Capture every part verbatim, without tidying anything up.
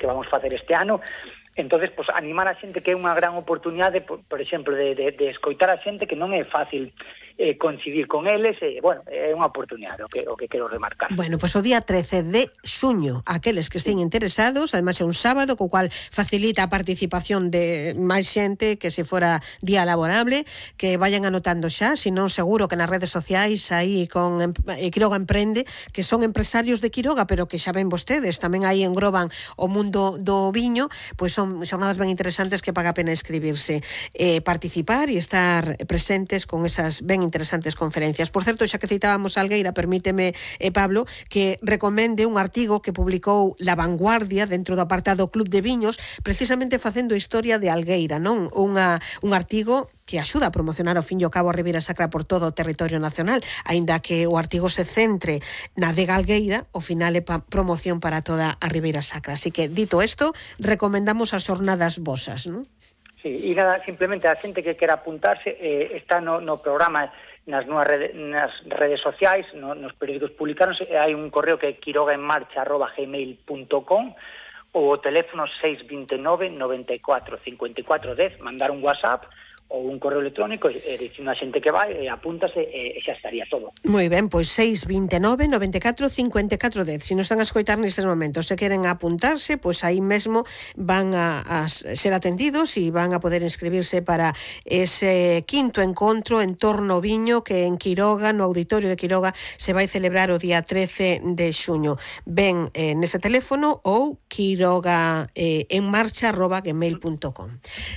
que vamos facer este ano. Entonces, pues, animar a xente que é unha gran oportunidade, por, por exemplo, de, de, de escoitar a xente que non é fácil eh, coincidir con eles, e, bueno, é unha oportunidade o que, o que quero remarcar. Bueno, pois pues o día trece de xuño, aqueles que estén sí. interesados, además é un sábado, co cual facilita a participación de máis xente que se fora día laborable, que vayan anotando xa, senón seguro que nas redes sociais aí con eh, Quiroga Emprende, que son empresarios de Quiroga, pero que xa ven vostedes, tamén aí engroban o mundo do viño, pois son xornadas ben interesantes que paga a pena inscribirse, eh, participar e estar presentes con esas ben interesantes conferencias. Por certo, xa que citábamos a Algueira, permíteme, eh, Pablo, que recomende un artigo que publicou La Vanguardia dentro do apartado Club de Viños, precisamente facendo historia de Algueira, non? Unha, un artigo que axuda a promocionar ao fin e ao cabo a Ribeira Sacra por todo o territorio nacional, aínda que o artigo se centre na adega Algueira, ao final é pa promoción para toda a Ribeira Sacra. Así que, dito isto, recomendamos as xornadas vosas, non? Sí, e nada, simplemente a xente que quera apuntarse eh, está no, no programa nas, nuas rede, nas redes sociais, no, nos periódicos publicados, hai un correo que é quirogaenmarcha arroba gmail punto com, ou o teléfono seis dos nove, noventa e catro, cincuenta e catro dez, mandar un WhatsApp ou un correo electrónico e dicir a xente que vai, e apúntase e xa estaría todo. Moi ben, pois seis dos nove, noventa e catro, cincuenta e catro dez. Se non están a escoitar nestes momentos, se queren apuntarse, pois aí mesmo van a, a ser atendidos e van a poder inscribirse para ese quinto encontro en torno ao viño que en Quiroga, no Auditorio de Quiroga, se vai celebrar o día trece de xuño. Ben eh, nese teléfono ou quiroga eh, en marcha arroba gmail punto com.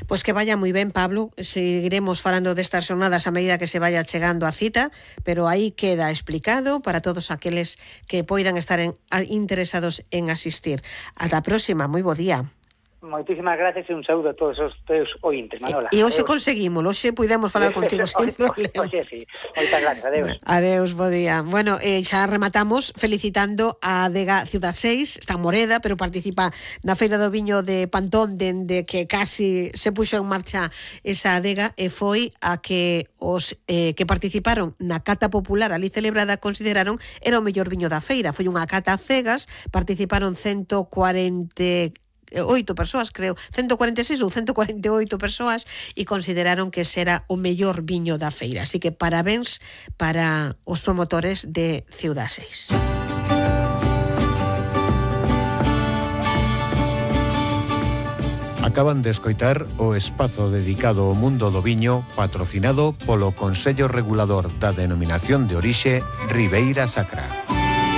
Pois que vaya moi ben, Pablo. Seguiremos falando destas xornadas a medida que se vaya chegando a cita, pero aí queda explicado para todos aqueles que poidan estar en, a, interesados en asistir. Ata a próxima, moi bo día. Moitísimas gracias e un saúdo a todos os teus ointes, Manola. E hoxe conseguimos, hoxe pudemos falar contigo sin problema. Oxe, sí. Moitas gracias, adeus. Adeus, bo día. Bueno, eh, xa rematamos felicitando a adega Ciudad seis, está en Moreda, pero participa na Feira do Viño de Pantón, dende que casi se puxo en marcha esa adega, e foi a que os eh, que participaron na cata popular ali celebrada consideraron era o mellor viño da feira. Foi unha cata a cegas, participaron ciento cuarenta oito persoas, creo, ciento cuarenta e seis ou ciento cuarenta e oito persoas, e consideraron que será o mellor viño da feira. Así que parabéns para os promotores de Ciudad seis. Acaban de escoitar o espazo dedicado ao mundo do viño, patrocinado polo Consello Regulador da Denominación de Orixe Ribeira Sacra.